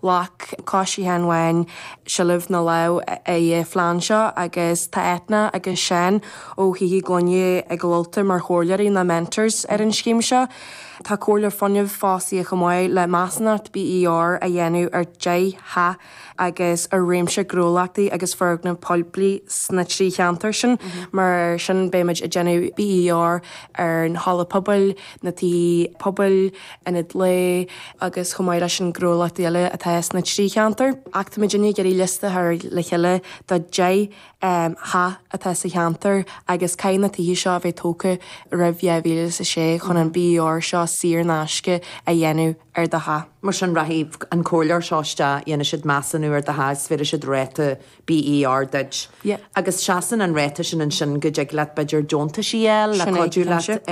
Ghlac Coiste Sheáin Bháin seilbh na lámh ar an phlean seo agus tá Eithne agus Seán ó Thithe Gloine i gCill Ulta mar chomhairleoirí nó mentors ar an scéim seo. Tá Comhairleoir Fuinnimh fostaithe chomh maith le measúnacht BER a dhéanamh ar 10 theach agus ar réimse gnólachtaí agus foirgneamh poiblí sna 3 cheantar sin. Mar sin beimid ag déanamh BER ar an halla pobail, na tithe pobail, ionad lae agus chomh maith leis an gnólachtaí eile atá sna 3 cheantar. Ach tá muidinne ag iarraidh liosta a chur le chéile do 10 theach atá sa cheantar agus caithfidh na tithe seo a bheith tógtha roimh 2006 chun an BER seo saor in aisce a dhéanamh ar do theach. Mar sin rachaidh an comhairleoir seo isteach, dhéanfaidh siad measúnú ar do theach is bhéarfaidh siad ráta BER duit. Agus seasann an ráta sin ansin go dtig leat b'fhéidir deontaisí a fháil le cuidiú leat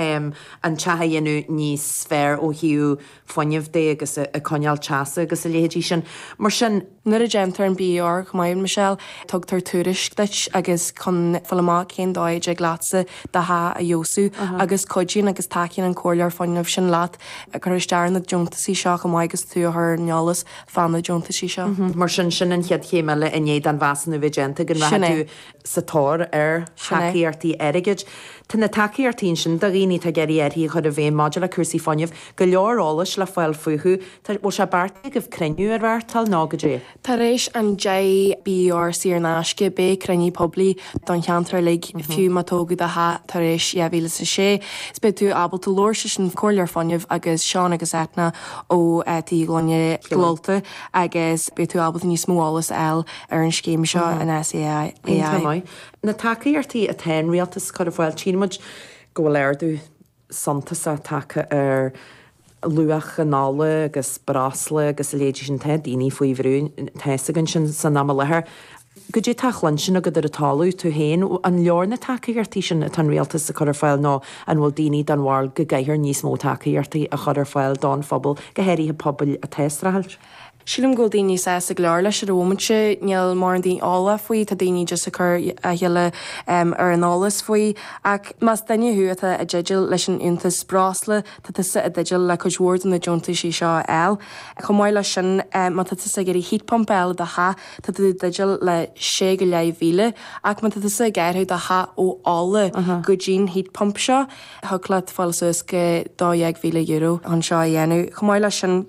an teach a dhéanamh níos fearr ó thaobh fuinnimh de agus ag coinneáil teasa agus a leithéidí sin. Mar sin. Nuair a déantar an BER chomh maith, Michelle, tugtar tuairisc duit agus chun fáil amach cén dóigh a dtig leatsa do theach a fheabhsú agus cuidíonn agus tacaíonn an comhairleoir fuinnimh sin leat ag cur isteach ar na deontaisí seo chomh maith agus tú a chur ar an eolas fá na deontaisí seo. Mar sin, sin an chéad chéim eile i ndiaidh don mheasúnú bheith déanta, go rachaidh tú sa tóir ar thacaíochtaí airgid. Tá na tacaíochtaí ansin do dhaoine atá ag iarraidh athruithe a chur i bhfeidhm maidir le cúrsaí fuinnimh, go leor eolais le fáil fúthu. Tá, bhfuil sé beartaithe agaibh cruinniú a reáchtáil nó goidé? Tar éis an 10 BER saor in aisce, beidh cruinniú poiblí don cheantar uilig, fiú má tógadh do theach tar éis 2006. Is beidh tú ábalta labhairt leis an Comhairleoir Fuinnimh agus Seán agus Eithne ó Tithe Gloine Chill Ulta agus beidh tú ábalta níos mó eolas a fháil ar an scéim seo in SEAI. Iontach maith. Na tacaíochtaí atá an rialtas ag cur ar fáil, tchíonn muid go bhfuil ardú suntasach tagtha ar luach an ola agus breosla agus a leithéidí sin. Tá daoine faoi bhrú, tá fhios againn sin san am i láthair. Goidé tá á chluinstin agat ar an talamh, tú féin, an leor na tacaíochtaí sin atá an rialtas ag cur ar fáil nó an bhfuil daoine den bharúil go gcaithfear níos mó tacaíochtaí a chur ar fáil don phobal, go háirithe pobail atá ag streachailt? Sílim go bhfuil daoine sásta go leor leis ar an bhomaite. Níl mórán daoine eolach faoi, tá daoine just ag cur a chéile ar an eolas faoi. Ach más duine thú atá i dteideal leis an fhiúntas breosla, tá tusa i dteideal le cuid mhór de na deontaisí seo a fháil. Chomh maith leis sin, má tá tusa ag iarraidh heat pump a fháil i do theach, tá tú i dteideal le sé go leith mhíle. Ach má tá tusa ag athrú do theach ó ola go dtí'n heat pump seo, thig leat fáil suas go €12,000 chun seo a dhéanamh. Chomh maith leis sin,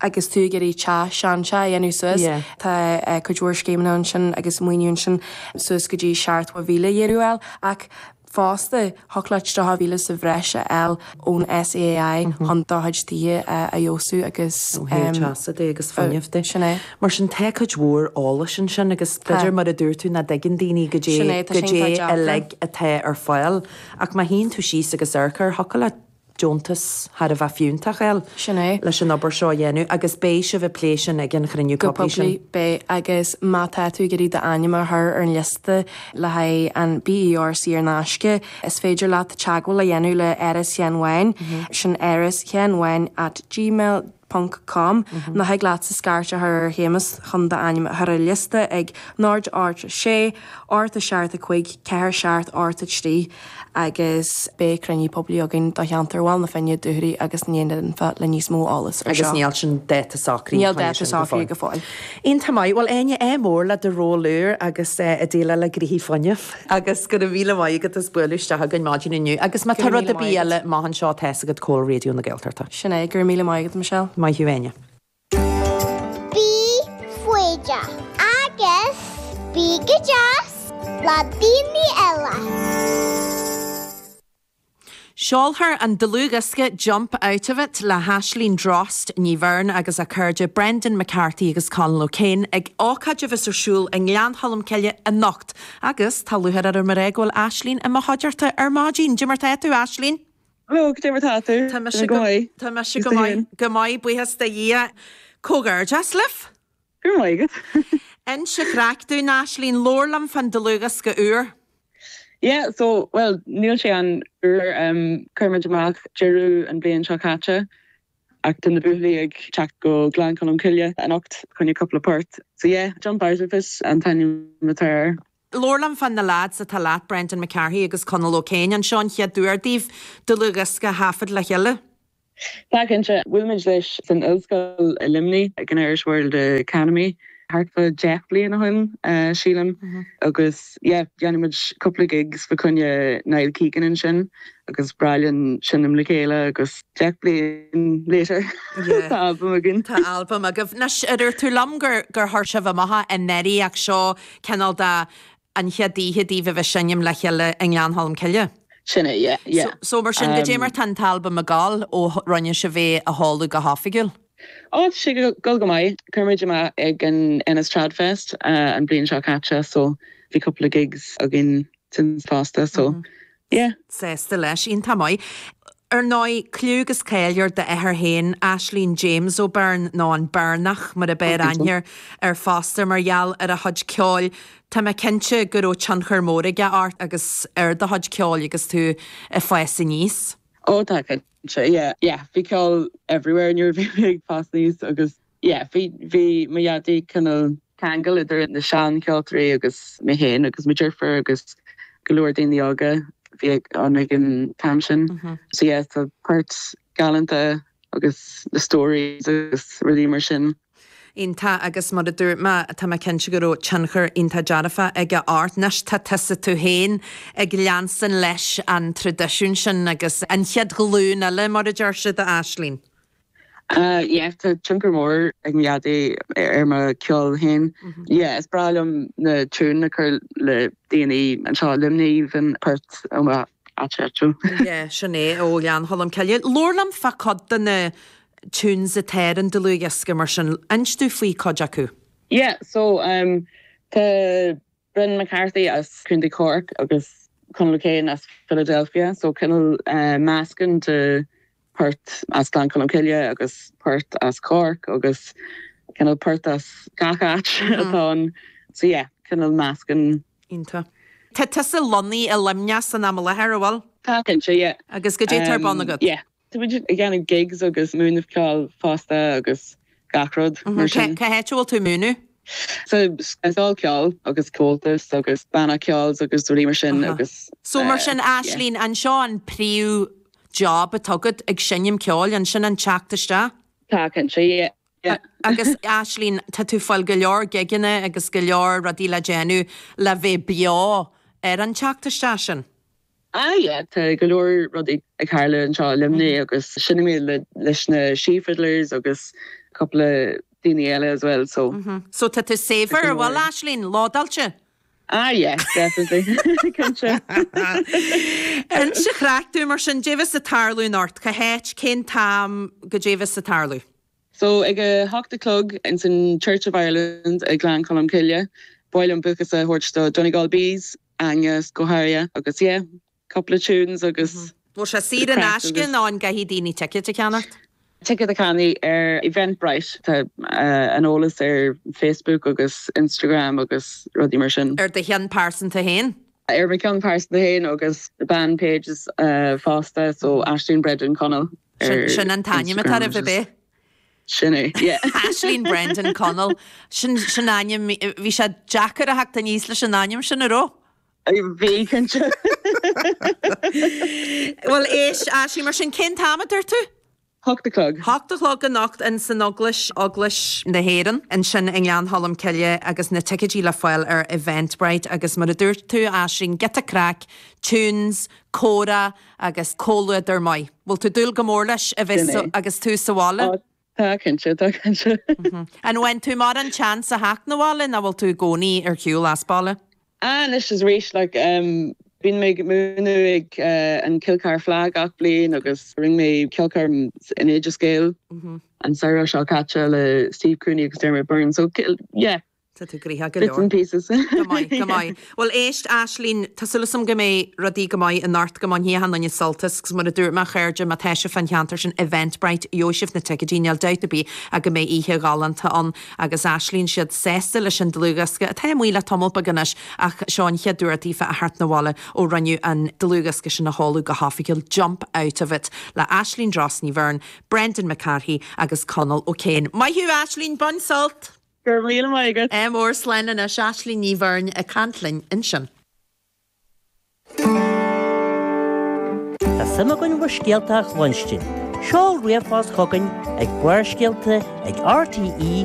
agus tú ag iarraidh teach, seanteach a dhéanamh suas, tá cuid mhór scéimeanna ansin agus maoiniú ansin suas go dtí €70,000 a fháil ach fosta thig leat 30,000 sa bhreis a fháil ón SEAI chun do chuid tithe a fheabhsú agus. Ó thaobh teasa de agus fuinnimh de. Sin é. Mar sin tá cuid mhór eolais ansin agus b'fhéidir mar a dúirt tú nach dtuigeann daoine goidé goidé uilig atá ar fáil ach má shuíonn tú síos agus amharc air thiocfadh leat deontas thar a bheith fiúntach a fháil Sin é. leis an obair seo a dhéanamh agus beidh sibh ag plé sin ag an chruinniú Go poiblí sin. poiblí, beidh. Agus má tá tú ag iarraidh d'ainm a chur ar an liosta le haghaidh an BER saor in aisce, is féidir leat teagmháil a dhéanamh le Áras Sheáin Bháin, sin Áras Sheáin Bháin at gmail ponc com, nó thig leatsa scairt a chur ar Shéamus chun d'ainm a chur ar an liosta ag 0 8 6 8 7 5 4 7 8 3. agus beidh cruinniú poiblí againn do cheantar Bhaile na Finne, Dúchoraidh agus na Inbhe le níos mó eolas ar seo. Agus níl sin dáta socraithe Níl dáta socraithe go fóill. Iontach maith. Bhuel, Áine, ádh mór le do ról úr agus i déileáil le gnoithí fuinnimh. Agus go raibh míle maith agat as bualadh isteach chugainn maidin inniu. Agus má tá rud ar bith eile amach anseo, tá fhios agat cá bhfuil Raidió na Gaeltachta. Sin é. Go raibh míle maith agat, Michelle. Maith thú, Áine. Bí foighdeach agus bí go deas le daoine eile. Seolfar an dlúthdhiosca Jump Out of It le hAisling Drost Ní Bheirn agus a cairde Brendan McCarthy agus Conal O'Kane ag ócáid a bheas ar siúl i nGleann Cholm Cille anocht agus tá lúcháir orm a rá go bhfuil Aisling i mo chuideachta ar maidin. Cad é mar tá tú, Aisling? Hello, cad é mar tá tú? Tá mise go maith. Tá mise go maith. Go maith, buíochas do Dhia. Comhghairdeas libh! Go raibh maith agat. Inis an chraic dúinn, Aisling, labhair liom fán dlúthdhiosca úr. Yeah, so, bhuel, níl sé an-úr. Chuir muid amach deireadh an bhliain seo caite ach tá na buachaillí ag teacht go Gleann Cholm Cille anocht chun cúpla port. So yeah, Jump Out of It an t-ainm atá air. Labhair liom fá na lads atá leat, Brendan McCarthy agus Conal O'Kane. An seo an chéad uair daoibh dlúthdhiosca a thaifead le chéile? Tá cinnte. Bhuail muid leis san ollscoil i Luimnigh ag an Irish World Academy thart fá 10 bliain ó shin, sílim, agus yeah, dhéanamh muid cúpla gigs fa choinne Niall Keegan ansin agus breá linn seinm le chéile agus 10 bliain later tá albam againn. Tá albam agaibh. Anois, ar dúirt tú liom gur gur chuir sibh amach é anuraidh ach seo cineál de an chéad oíche daoibh a bheith ag seinm le chéile i nGleann Cholm Cille. Sin é, yeah, yeah. So, mar sin, goidé mar tá an t-albam ag gabháil ó rinne sibh é a sheoladh go hoifigiúil? Ó, tá sé ag dul go maith. Chuir muid amach ag an Ennis Trad Fest an bhliain seo caite so bhí cúpla gigs againn since fosta so yeah. Sásta leis. Iontach maith. Ar ndóigh, cliú agus cáil ar d'athair féin, Aislín James Ó Beirn, nó an Beirneach mar a b'fhearr aithne air fosta mar gheall ar a chuid ceoil. Tá mé cinnte go raibh tionchar mór aige ort agus ar do chuid ceoil agus tú ag fás aníos. Ó tá cinnte, yeah, yeah. Bhí ceol everywhere nuair a bhí mé ag fás aníos agus yeah, bhí, bhí mo dhaidí cineál ceangal idir na sean-cheoltóirí agus mé féin agus mo deirfiúr agus go leor daoine óga a bhí ann ag an t-am sin. So yeah, tá poirt galánta agus na stories agus rudaí mar sin. Iontach agus mar a dúirt mé, tá mé cinnte go raibh tionchar iontach dearfach aige ort. Anois tá tusa tú féin ag leanstan leis an traidisiún sin agus an chéad ghlúin eile mar a deir siad, a Aislín. Yeah, tá tionchar mór ag mo dhaidí ar mo cheol féin. Yeah, is breá liom na tunes a chur le daoine anseo i Luimnigh, even port ó mo áit áitiúil. Yeah, sin é, ó Ghleann Cholm Cille. Labhair liom fá cuid de na tunes atá ar an dlúthdhiosca mar sin. Inis domh faoi cuid acu. Yeah, so um, tá Brendan McCarthy as Contae Cork agus Conall O'Kane as Philadelphia, so cineál meascán de port as Gleann Cholm Cille agus port as Cork agus cineál port as gach áit atá ann. So yeah, cineál meascán. Iontach. Tá tusa lonnaithe i Luimneach san am i láthair, an bhfuil? Tá, cinnte, yeah. Agus goidé atá ar bun agat? Yeah. Tá muid ag déanamh gigs agus múineadh ceoil fosta agus gach rud mar sin. Cá háit a bhfuil tú ag múineadh? Sa scoil ceoil agus Comhaltas agus banna ceoil agus rudaí mar sin agus. So mar sin Aislín, an seo an príomh job atá agat ag seinm ceoil, an sin an teacht isteach? Tá cinnte, yeah. Yeah. Agus Aislín, tá tú ag fáil go leor gigeanna agus go leor rudaí le déanamh le bheith beo ar an teacht isteach sin. Ah yeah, tá go leor rudaí ag tarlú anseo i Luimnigh agus seinnim mé leis na She Fiddlers agus cúpla daoine eile as well so. So tá tú saibhir, an bhfuil, Aislín? Lódáilte? Ah yeah, definitely. Cinnte. Inis an chraic dúinn mar sin, goidé bheas ag tarlú anocht, cá háit, cén t-am, goidé bheas ag tarlú? So ag a hocht a chlog ins an Church of Ireland i Gleann Cholm Cille, ba mhaith liom buíochas a thabhairt do Donegal Bees, Aine go háirithe agus yeah, cúpla tunes agus Bhfuil sé saor in aisce nó an gcaithfidh daoine ticéad a cheannacht? Ticéad a cheannaigh ar Eventbrite, tá an eolas ar Facebook agus Instagram agus rudaí mar sin. Ar do cheann pearsanta féin? Ar mo cheann pearsanta féin agus the band pages fosta, so Aisling Brendan Connell ar Sin an t-ainm atá oraibh, ab é? Sin é, yeah. Aisling Brendan Connell. Sin, sin ainm, bhí sé deacair a theacht aníos leis an ainm sin, an raibh? Bhí, cinnte. Bhuel, éist, Aisling, mar sin, cén t-am a dúirt tú? Hocht a chlog. Hocht a chlog anocht in san Eaglais, Eaglais na hÉireann, ansin i nGleann Cholm Cille agus na ticéidí le fáil ar Eventbrite agus mar a dúirt tú, Aisling, giota craic, tunes, comhrá agus comhluadar maith. Bhfuil tú ag dúil go mór leis a bheith Sin é. agus tú sa bhaile? Ó, tá cinnte, tá cinnte. An bhfaigheann tú mórán chance a theacht 'na bhaile nó bhfuil tú i gcónaí ar shiúl as baile? Ah, anois is arís, like, bíonn mé ag múineadh ag an Kilcar Fleadh gach bliain agus rinne mé ceolchoirm in Oideas Gael an samhradh seo caite le Steve Cooney agus Dermot Byrne, so yeah. Tá tú gnoitheach go leor. Bits and pieces. Go maith, go maith. Bhuel éist, Aislinn, tá súil agam go mbeidh rudaí go maith anocht, go mbainfidh achan duine sult as, agus mar a dúirt mé, a chairde, má tá sibh fán cheantar sin, Eventbrite, gheobhaidh sibh na ticéidí, níl dabht ar bith ach go mbeidh oíche ghalánta ann. Agus Aislinn siad sásta leis an dlúthdhiosca, atá amuigh le tamall beag anois, ach seo an chéad uair daofa a theacht 'na bhaile ó rinneadh an dlúthdhiosca sin a sheoladh go hoifigiúil, Jump Out of It, le Aislinn Dross Ní Bheirn, Brendan McCarthy agus Conall O'Kane. Maith thú Aislinn, bain sult! Go raibh míle maith agat! Ádh mór, slán anois, Aislinn Ní Bheirn ag caint linn ansin. Tá suim againn bhur scéalta a chluinstin. Seol ríomhphost chugainn ag Barrscéalta ag rte.ie.